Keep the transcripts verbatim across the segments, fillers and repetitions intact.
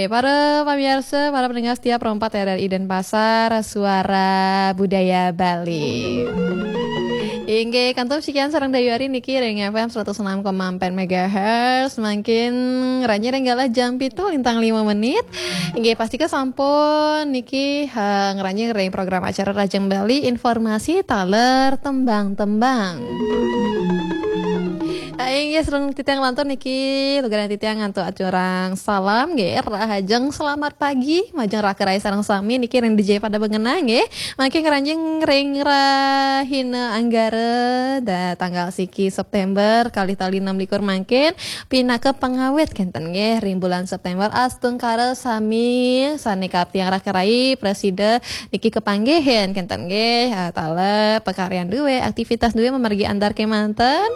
Para pamiarsa, para pendengar setia Pro empat R R I Denpasar, Suara Budaya Bali. Inggih, kantun sikian sareng Dayu Ari niki ring F M seratus enam koma empat megahertz. Mangkin ngranjing ring galah jam pitu lintang lima menit. Inggih, pastika sampun niki, eh, ngranjing ring program acara Rajang Bali, informasi taler tembang-tembang. Ah, inggih, sareng titiang lantur niki, lugrayang titiang antuk aturang salam nggih, rahajeng selamat pagi majeng raka rai sareng sami niki ring dija pada bengenang nggih. Mangkin ngranjing ring rahina Anggara, da tanggal siki September kalih tali enam likur mangkin pinaka pangawit kenten nggih ring bulan September, astungkara sami sane kaptiang raka rai prasida niki kapanggihin kenten nggih, ah, taler pakaryan duwe, aktivitas duwe mamargi antar kemanten.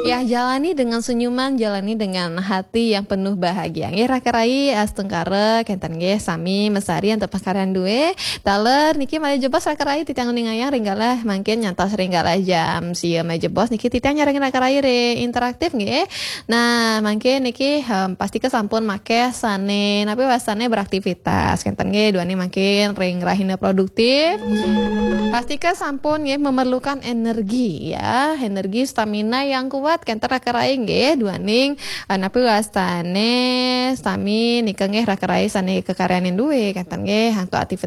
Ya, jalani dengan senyuman, jalani dengan hati yang penuh bahagia. Nggih, raka rai astungkara kenten nggih sami mesari antuk pakaryan duwe. Taler niki malih jebos raka rai titiang uningayang ring galah mangkin nyantos ring galah jam sia malih jebos niki titiang nyarengin raka rai ring interaktif nggih. Nah, mangkin niki, em, pastika sampun makeh sane napi wastane beraktivitas. Kenten nggih, duaning mangkin ring rahina produktif. Pastika sampun nggih memerlukan energi ya, energi stamina yang kuat kenten raka rai nggih, duaning, eh, napi wastane sami nika nggih raka rai sane kakaryanin duwe kenten nggih, antuk aktivitas